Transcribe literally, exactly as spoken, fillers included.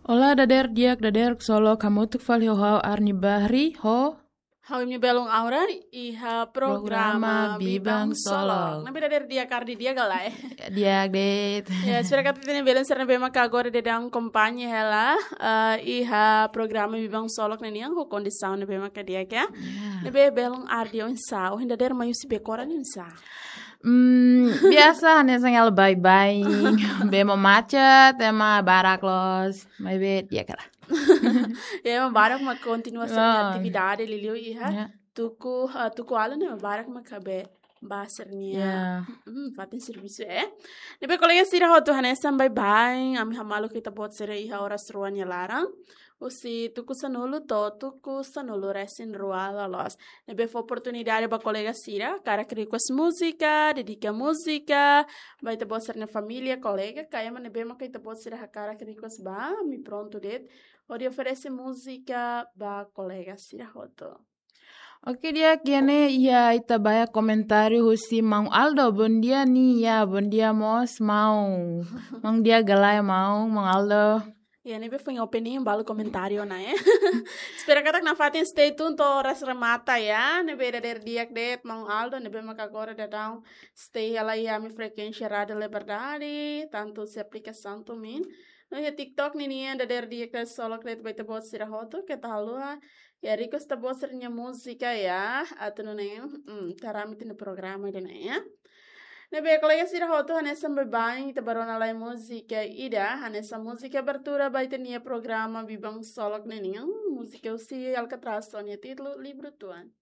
Olá, dader di'ak, dader ksolok, hamutuk fali ho ha'u Arni Bahri, ho Ha'u imi belun Aura iha programa Bibang Solok. Ne'ebé dader di'ak, Arni, di'ak ka lae? Di'ak de'it. Ya, espera katak ita-nia belun sira ne'ebé maka agora daudaun akompaña hela, eh, iha programa Bibang Solok ne'e nian ho kondisaun ne'ebé maka di'ak, ya. Ne'ebé belun Arni, oinsá? Ohin dader mai husi Becora ne'e oinsá? Hmm, biasa, hanesan hela baibain, bee mak macet, ema barak loos, maibé di'ak hela. Ya, ema barak mak kontinua sira-nia atividade liuliu iha tuku, eh, tuku alin ne'e ema barak mak bá sira-nia, hmm, fatin servisu, eh. Ne'ebé kolega sira hotu, hanesan baibain, ami hamaluk ita-boot sira iha oras rua nia laran, husi tuku sanulu to'o tuku sanulu resin rua loloos. Ne'ebé fó oportunidade ba kolega sira hakarak request múzika, dedika múzika ba ita-boot sira-nia família, kolega, ka ema ne'ebé maka ita-boot sira hakarak request ba, ami prontu de'it hodi oferese múzika ba kolega sira hotu. Oke, di'ak, iha ne'e iha ita-nia komentáriu husi Maun Aldo. Bondia nia, bondia mós, Maun. Maun di'ak ka lae, Maun, Maun Aldo? Ya, ne'ebé foin opening, balu komentáriu ona, eh. Espera katak nafatin stay tune to'o oras remata, ya. Ne'ebé dader di'ak de'it, Maun Aldo, ne'ebé maka agora daudaun stay hela iha ami frekuénsia Rádio Liberdade, tantu husi aplikasaun TuneIn. No iha TikTok ninian, dader di'ak, ksolok de'it ba ita-boot sira hotu, keta haluha ya request ita-boot sira-nia múzika, ya, atu nune'e, hmm, tramite iha programa ida-ne'e, ya. Ne'ebé kolega sira hotu, hanesan baibain ita bá rona lai múzika ida, hanesan múzika abertura ba ita-nia programa Bibang Solok ne'e nian, múzika husi Alcatraz ho nia títulu Livru Tuan.